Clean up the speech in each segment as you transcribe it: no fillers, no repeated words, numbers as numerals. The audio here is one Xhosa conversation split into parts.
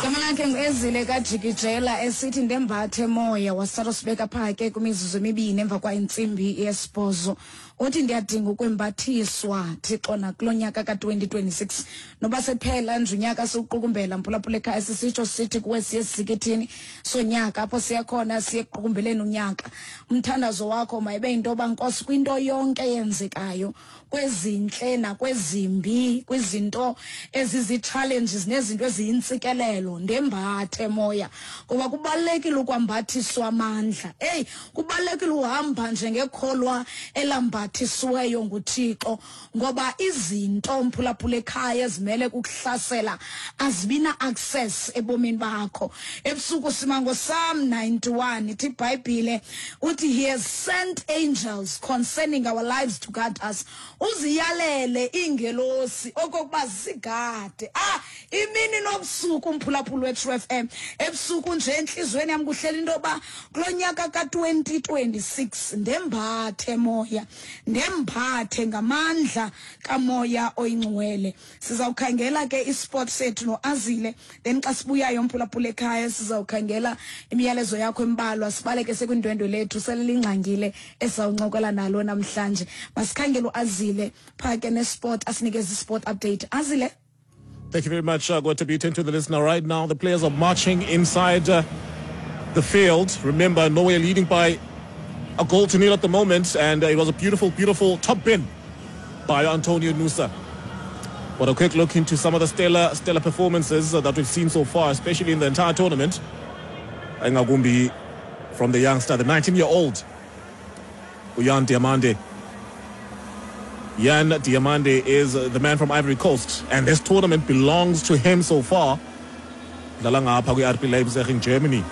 Igama lakhe nguEzile kaJikijela esithi ndembathe moya wasala usibeka pha ke kwimizuzu emibini emva kwa intsimbi yesibhozo. Uthi ndiyadinga ukwembathiswa Thixo nakulo nyaka ka-2026 noba sephela nje unyaka siwuqukumbela mphulaphula ekhaya, sisitsho sithi kuwe siye sisikithini sonyaka apho siya khona siye ekuqukumbeleni unyaka. Umthandazo wakho mayibe yinto yoba Nkosi kwinto yonke eyenzekayo, kwezintle nakwezimbi, kwizinto ezizi-challenges nezinto eziyintsikelelo, ndembathe moya, ngoba kubalulekile ukwambathiswa amandla. Eyi, kubalulekile uhamba njengekholwa elambathisiweyo nguThixo, ngoba izinto mphulaphula ekhaya ezimele kukuhlasela azibina access ebomini bakho. Ebusuku sima ngoPsalm 91, ithi iBhayibhile uthi he has sent angels concerning our lives to guard us. Uziyalele iingelosi okokuba zisigade imini nobusuku. Umphulaphula weTrue FM, ebusuku nje entliziyweni yam kuhlela into yoba kulo nyaka ka-2026 ndembathe moya, ndembathe ngamandla kamoya oyingcwele. Sizawukhangela ke isport sethu noAzile, then xa sibuyayo mphulaphula ekhaya sizawukhangela imiyalezo yakho embalwa, sibaleke sekwindwendwe lethu sele lingxangile esizawuncokola nalo namhlanje. Masikhangele uAzile phaa ke nesport, asinikeze isport update. Azile. Thank you very much. Going to be to the listener right now. The players are marching inside the field. Remember, Norway leading by 1-0 at the moment, and it was a beautiful, beautiful top bin by Antonio Nusa. But a quick look into some of the stellar performances that we've seen so far, especially in the entire tournament. Engagumbi from the youngster, the 19-year-old Yan Diamande. Yan Diamande is the man from Ivory Coast, and this tournament belongs to him so far. Dlala ngapha kwi-RB Leipzig in Germany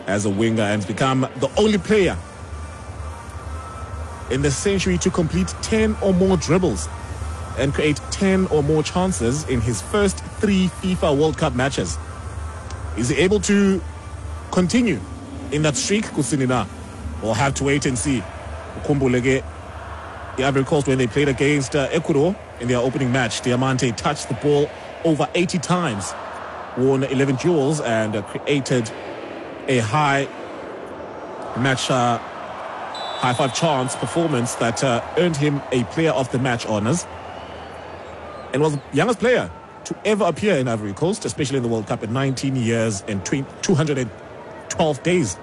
as a winger and has become the only player in the century to complete 10 or more dribbles and create 10 or more chances in his first 3 FIFA World Cup matches. Is he able to continue in that streak, Kusinina? We'll have to wait and see. Ukhumbule ke, the Ivory Coast, when they played against Ecuador in their opening match, Diamante touched the ball over 80 times, won 11 duels, and created a high match, high five chance performance that earned him a player of the match honors, and was the youngest player to ever appear in Ivory Coast, especially in the World Cup, at 19 years and 212 days.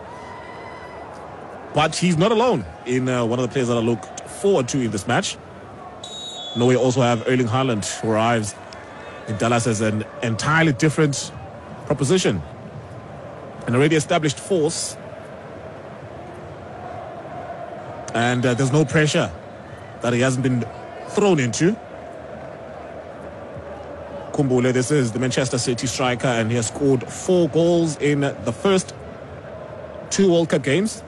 But he's not alone in one of the players that I looked forward to in this match. Norway also have Erling Haaland, who arrives in Dallas as an entirely different proposition. An already established force. And there's no pressure that he hasn't been thrown into. Kumbule, this is the Manchester City striker, and he has scored 4 goals in the first 2 World Cup games.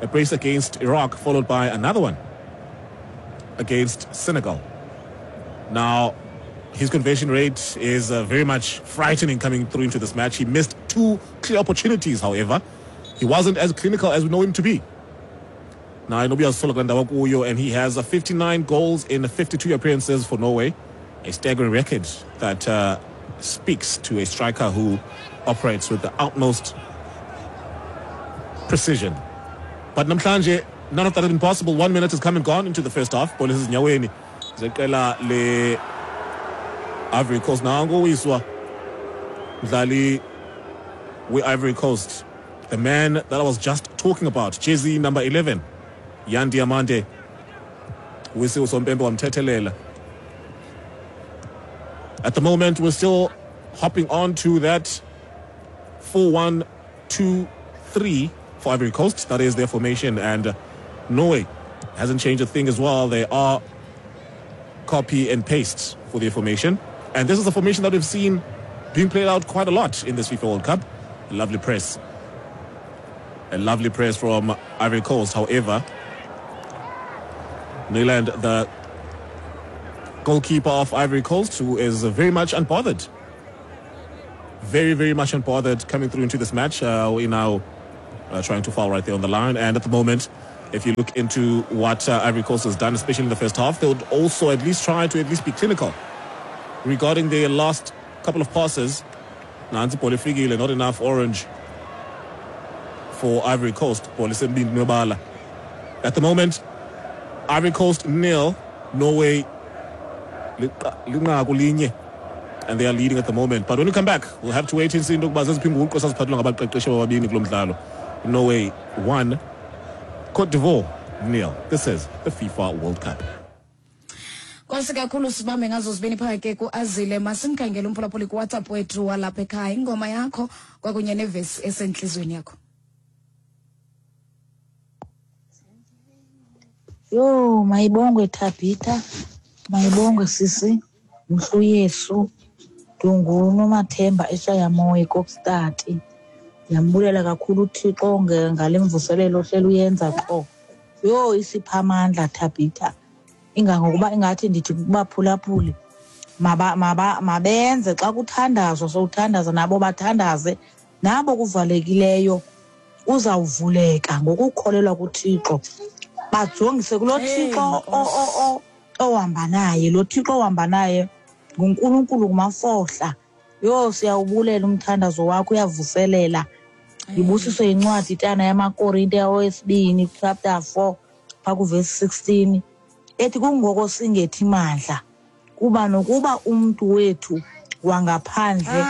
A brace against Iraq, followed by another one against Senegal. Now, his conversion rate is very much frightening coming through into this match. He missed 2 clear opportunities, however. He wasn't as clinical as we know him to be. Now, and he has 59 goals in 52 appearances for Norway. A staggering record that speaks to a striker who operates with the utmost precision. But namhlanje, none of that has been possible. 1 minute has come and gone into the first half. Ball is nyaweni zeqela le Ivory Coast. Nango wiswa mdlali we Ivory Coast, the man that I was just talking about, jersey number 11, Yan Diamande. Wisi usompempe wamthethelela. At the moment, we're still hopping on to that 4-1-2-3 for Ivory Coast. That is their formation, and Norway hasn't changed a thing as well. They are copy and paste for their formation, and this is a formation that we've seen being played out quite a lot in this FIFA World Cup. A lovely press. A lovely press from Ivory Coast. However, Nyland, the goalkeeper of Ivory Coast, who is very much unbothered. Very, very much unbothered coming through into this match. We now trying to foul right there on the line. And at the moment, if you look into what Ivory Coast has done, especially in the first half, they would also at least try to at least be clinical regarding their last couple of passes. Nantsi ibhola ifikile, not enough orange for Ivory Coast. Bhola isembindini webala. At the moment, Ivory Coast nil, Norway linqaku linye. And they are leading at the moment. But when we come back, we'll have to wait and see into yokuba zeziphi iinguqu esaziphathelwa ngabaqeqeshi ababini kulo mdlalo. Norway 1, Cote d'Ivoire nil. This is the FIFA World Cup. Nkosi kakhulu, sibambe ngazo zibini phaa ke kuazile. Masimkhangele umphulaphuli kuWhatsApp wethu walapha ekhaya, ingoma yakho kwakunye nevesi esentliziyweni yakho. Yho, mayibongwe Thabitha, mayibongwe sisi, mhlu Yesu. NdinguNomathemba eShayamoya eKokstad. Ndiyambulela kakhulu uThixo ngale mvuselelo ohleli uyenza qho. Yho, isipha amandla Thabitha. Ingangokuba ingathi ndithi kubaphulaphuli mabenze xa kuthandazwa, sowuthandaza nabo bathandaze, nabo kuvalekileyo uzawuvuleka ngokukholelwa kuThixo. Bajongise kulo Thixo ohamba naye, lo Thixo ohamba naye nguNkulunkulu ngumafohla. Yho, siyawubulela umthandazo wakho, uyavuselela. Ndibusiswe yincwadi tana yamaKorinte owesibini chapter 4 phaa kuvesi 16 ethi kungoko singethi mandla, kuba nokuba umntu wethu wangaphandle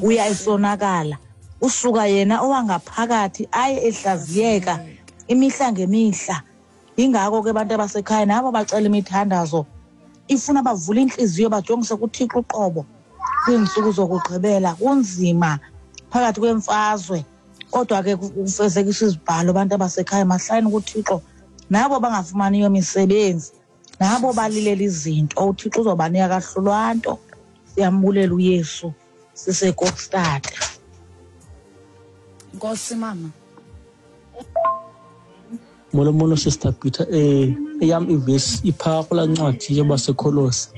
uya esonakala, usuka yena owangaphakathi aye ehlaziyeka imihla ngemihla. Yingako ke abantu abasekhaya nabo bacela imithandazo ifuna bavule intliziyo bajongise kuThixo uqobo kwiintsuku zokugqibela. Kunzima phakathi kwemfazwe, kodwa ke kufezekiswa izibhalo. Abantu abasekhaya mahlayeni kuThixo, nabo bangafumaniyo misebenzi, nabo balilela izinto, uThixo uzobanika kahlulwa nto. Siyambulela uYesu siseKokstad. Nkosi mama. Molo molo Sister Peter, eyam ivesi iphaa kulaa ncwadi yabaseKolose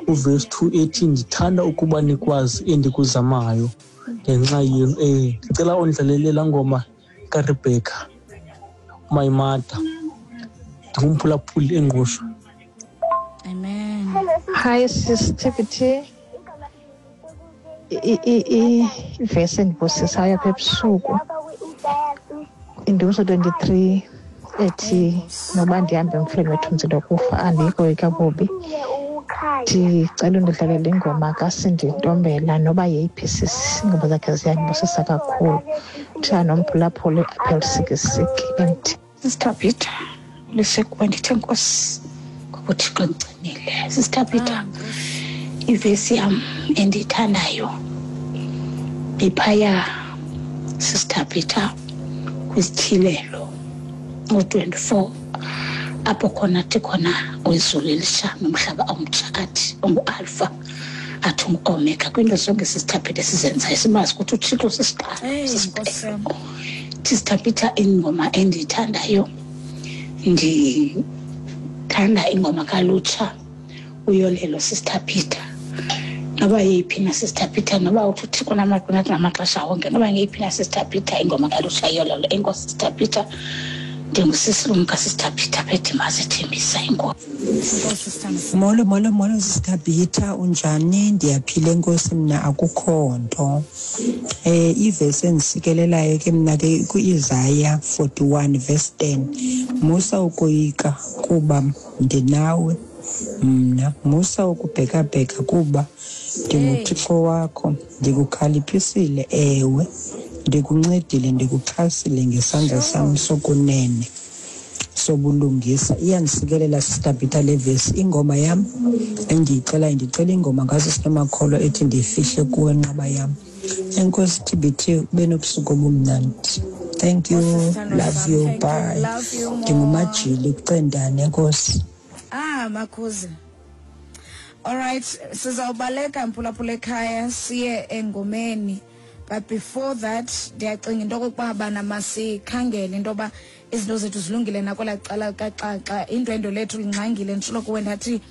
uvesi 2 ethi ndithanda ukuba nikwazi endikuzamayo ngenxa yenu. Ndicela undlalele laa ngoma kaRebecca My Mother. Ndingumphulaphuli eNgqushwa. Amen. Hi Sis TBT. Ivesi endibusisayo apha ebusuku indumiso 23 ethi noba ndihambe emfuleni wethunzi lokufa andiyikoyika bubi. Ndicela undidlalele ingoma kaSindi Ntombela noba yeyiphi sisi, iingoma zakhe ziyandibusisa kakhulu. Kuthiwa nomphulaphuli apha eLusikisiki MT. Sister Peter, lisekuba ndithe nkosi ngoba uThixo ndigcinile. Sister Peter, ivesi yam endiyithandayo iphaya Sister Peter kwisityhilelo u-24 apho khona athi khona wezulu elisha nomhlaba omtsha, athi ungu-Alpha, athi ungu-Omega. Kwinto zonke Sister Peter sizenzayo simazi ukuthi uThixo sisiqalo, sisiphelo. Sister Peter, ingoma endiyithandayo, ndithanda ingoma kaLutsha uYolelo Sister Peter. Noba yeyiphi na Sister Peter, noba uthi uThixo namaxesha wonke, noba ngeyiphi na Sister Peter ingoma kaLutsha Yolelo. Enkosi Sister Peter, ndingusisilumka Sister Peter phedimazi ethembisa inkosi. Molo molo molo Sister Peter, unjani? Ndiyaphila enkosi, mna akukho nto. Ivesi endisikelelayo ke mna ke ku-Isaiah 41 verse 10. Musa ukoyika kuba ndinawe mna, musa ukubhekabheka kuba ndinguThixo wakho, ndikukhaliphisile, ewe ndikuncedile, ndikuxhasile ngesandla sam sokunene sobulungisa. Iyandisikelela Sister Peter le vesi. Ingoma yam endiyicelayo, ndicela ingoma ngaso sinomakholo ethi ndifihle kuwe nqaba yam. Enkosi TBT, ube nobusuku obumnandi. Thank you, love you, bye. Ndingumajili kucendane, enkosi. Makhuzi. All right, sizawubaleka mphulaphula ekhaya siye engomeni. But before that, ndiyacinga into okokuba bana masikhangele into yoba izinto zethu zilungile nakwelaa cala kaXaxa. Indwendwe lethu lingxangile, nditshilo kuwe ndathi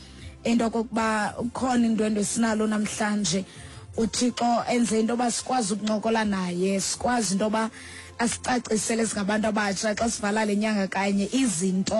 into okokuba ukhona indwendwe esinalo namhlanje. uThixo enze into yoba sikwazi ukuncokola naye, sikwazi into yoba asicacisele singabantu abatsha xa sivala le nyanga kanye izinto.